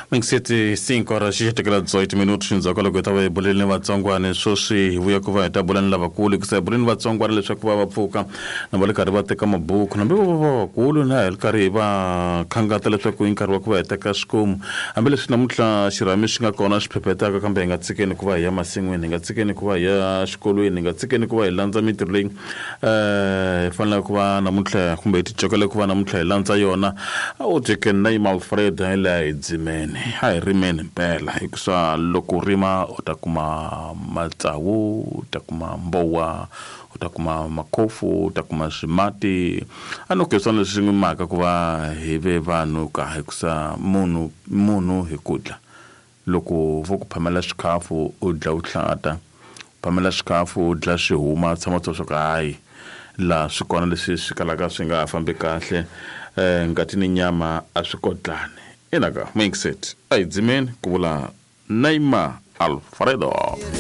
Mingiseti 5 horas xi tekela 18 minutos endzhaku ka loko hi ta va hi bulele ni vatsongwana sweswi hi vuya ku va hi ta bula ni lavakulu hikusa hi bule ni vatsongwana leswaku va va pfuka na va le karhi va teka mabuku hambi vo va vakulu na hi ri karhi hi va khangata leswaku i nkarhi wa ku va hi teka swikomu hambileswi namuntlha xirhami xi nga kona xi phephetaka kambe hi nga tshikeni ku va hi ya masin'wini hi nga tshikeni ku va hi ya xikolweni hi nga tshikeni ku va hi landza mintirho leyi hi fanele ku va namuntlha kumbe hi ticokele ku va namuntlha hi landza yona u teke name Alfred hi laha hi dzimeni a hi rimeni mpela hikusa loko u rima u ta kuma matsawu u ta kuma mbowa u ta kuma makhofu u ta kuma swimati a no ke swona leswi n'wi maka ku va hi ve vanhu ka hikusa munhu munhu hi ku dla Loko vo ku phamela swikhafu u dla u hlata, phamela swikhafu u dla swi huma tshama u tiva swa ku hayi laha swi kona leswi swi kalaka swi nga ha fambi kahle ngati ni nyama a swi kotlani. Ina ka, Mixit a hi dzimeni, ku vula Neymar Alfredo.